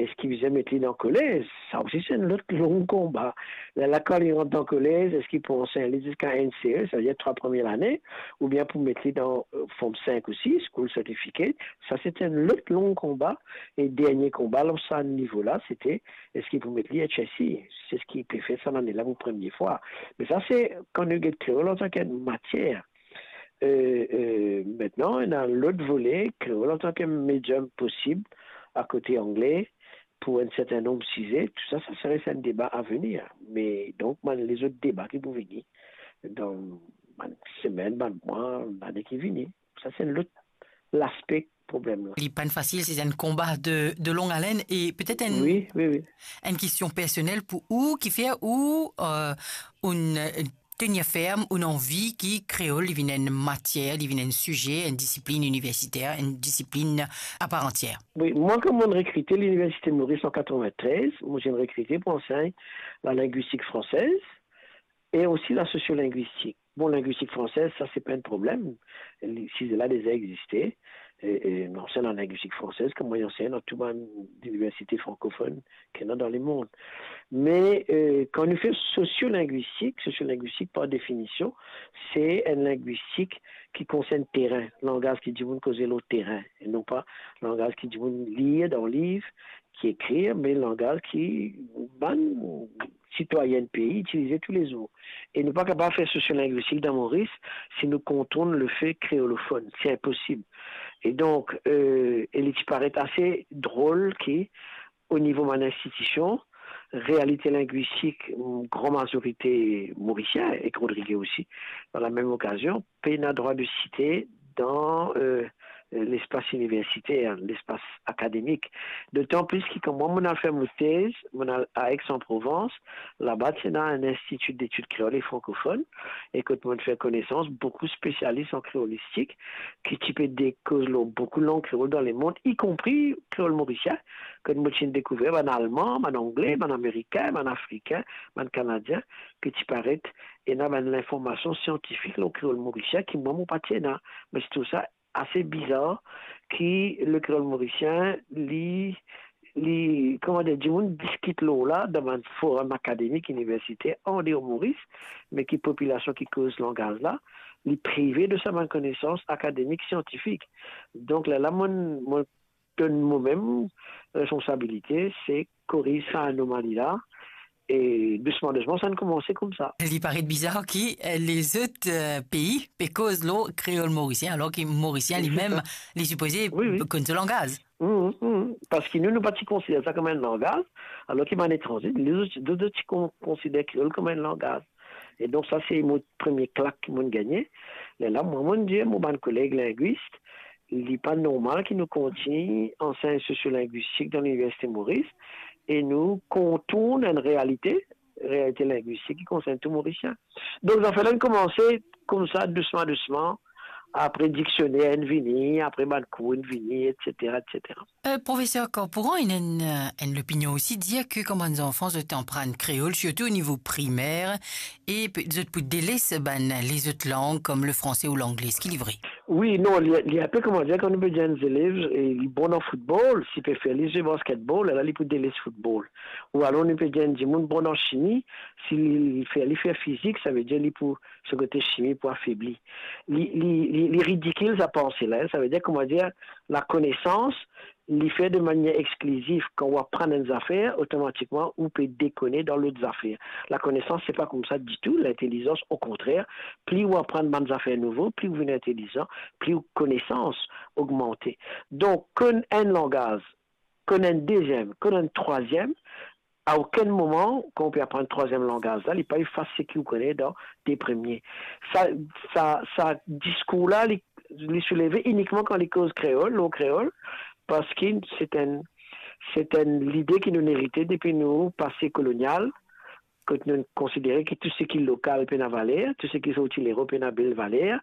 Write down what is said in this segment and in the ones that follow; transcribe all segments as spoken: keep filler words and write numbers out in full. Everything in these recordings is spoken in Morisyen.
Eski bizin met li dan kolez? Sa osi se enn lot long konba. Lerla kan li rant dan kolez, eski pou ansegn li ziska N C E, savedir trwa premie lane, oubien pou met li dan, eh, Form Five ou Six, School Certificate? Sa se enn lot long konba. E dernie konba lor sa nivo la, sete eski pou met li H S C? Se seki pe fer sa lane la pou premie fwa. Me sa se kan nou get kreol antan ki enn matier. Eh, eh, aster, ena lot vole, kreol antan ki medium posib, akote angle, pou enn serten nonb size, tou sa, sa sere enn deba a venir. Me donk, bann lezot deba ki pou vini dan bann semenn, bann mwa, lane ki vini. Sa se enn lot laspe problem la. Li pa'nn fasil, se enn konba de, de long alen e petet enn, Wi, wi, wi. enn kestion personel pou ou, kifer ou, eh, ou'nn, eh, tenir ferm, ou'nn anvi ki kreol li vinn enn matier, li vinn enn size, enn disiplinn iniversiter, enn disiplinn a par antier? Wi, mwa, kan mo'nn rekrite Liniversite Moris an katrevin-trez, mo ti'nn rekrite pou ansegn lalingwistik fransez e osi lasosiolingwistik. Bon, lingwistik fransez, sa se pa enn problem. Li, size la deza existe. E, e, nou ansegn lalingwistik fransez, kouma nou ansegn dan tou bann liniversite frankofonn ki ena dan lemond. Me, eh, kan nou fer sosiolingwistik, sosiolingwistik par definision, se enn lingwistik ki konsern terin, langaz ki dimoun koze lor terin, e non pa langaz ki dimoun lir dan liv, ki ekrir, me langaz ki bann sitwayin pei itilize toulezour. E nou pa kapav fer sosiolingwistik dan Moris si nou kontourn lefe kreolofonn. Se inposib. E donk, eh, e li ti paret ase drol ki, o nivo bann institision, realite lingwistik, mm, gran mazorite morisien, ek Rodrige osi, dan lamem okazion, pena drwa de site dan, eh, lespas iniversiter, lespas akademik. Dotan plis ki kan mwa, mo'nn al fer mo tez, mo'nn al a Aix-en-Provence, laba ti ena enn Institut d'Études Créoles et Francophones, e kot mo'nn fer konesans boukou spesialis an kreolistik, ki ti pe koz lor boukou lang kreol dan lemond, ikonpri kreol morisien, kot mo ti'nn dekouver bann Alman, bann Angle, bann Amerikin, bann Afrikin, bann Kanadien, ki ti paret ena bann linformasion siantifik lor kreol morisien ki mwa mo pa ti ena. Me se trouv sa ase bizar ki lekreol morisien, li, li, kouma dir, dimoun diskit lor la dan bann forum akademik, iniversiter, andeor Moris, me ki popilasion ki koz langaz la, li prive de sa bann konesans akademik, siantifik. Donk, lerla, mo, mo donn momem responsabilite, se koriz sa anomali la, e dousman, dousman, sa inn koumanse koumsa. Li paret bizar ki, eh, lezot, eh, pei pe koz lor kreol morisien, alor ki morisien limem, li sipoze Wi, wi. konn so langaz. Mhm, mhm. Parski nou, nou pa ti konsider sa kouma enn langaz, alor ki bann etranze, lezot, lezot ti kon-, konsider kreol kouma enn langaz. E donk, sa se mo premie klak ki mo'nn gagne. Lerla, mwa, mo'nn dir mo bann koleg lingwis, li pa normal ki nou kontign ansegn sosiolingwistik dan Liniversite Moris e nou kontourn enn realite, realite lingwistik ki konsern tou Morisien. Donk, zafer la inn koumanse koumsa, dousman, dousman. Apre diksioner inn vini, apre bann kour inn vini, etsetera, etsetera. Eh, Profeser Corporan, ena enn, eh, enn lopinion osi dir ki kan bann zanfan zot aprann kreol, sirtou o nivo primer, e pe-, zot pou deles bann lezot lang kom le franse ou langle, eski li vre? Wi, non, li, li inpe, kouma dir, kan nou pe dir enn zelev, e li bon dan foutbol, si pe fer li zwe basketbol, ala li pou deles foutbol. Ou alor nou pe dir enn dimoun bon dan simi, si li, li fer, li fer fizik, savedir li pou, so kote simi pou afebli. Li, li, li, li ridikil sa panse la, savedir, kouma dir, lakonesans, li fer de manier exklizif. Kan ou aprann enn zafer, otomatikman, ou pe dekone dan lot zafer. Lakonesans, se pa koumsa ditou. Lintelizans, okontrer, pli ou aprann bann zafer nouvo, pli ou vinn intelizan, pli ou konesans ogmante. Donk, konn enn langaz, konn enn deziem, konn enn trwaziem, a okenn moman, kan ou pe aprann trwaziem langaz la, li pa efas seki ou kone dan de premie. Sa, sa, sa diskour la, li, li souleve inikman kan li koz kreol, lor kreol, parski se enn, se enn lide ki nou erite depi nou pase kolonial, kot nou konsidere ki tou seki lokal pena valer, tou seki sorti Lerop pena bel valer.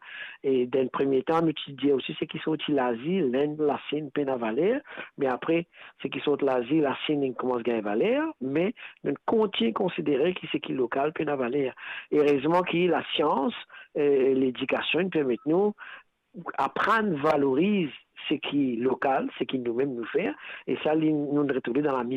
E dan premie tan, nou ti dir osi seki sorti Lazi, Lenn, Lasin pena valer, me apre, seki sorti Lazi, Lasin, inn koumans gagn valer, me nou kontign konsidere ki seki lokal pena valer. Erezman ki lasians, eh, ledikasion inn permet nou aprann valoriz seki lokal, seki nou mem nou fer, e sa li, nou retrouv li dan la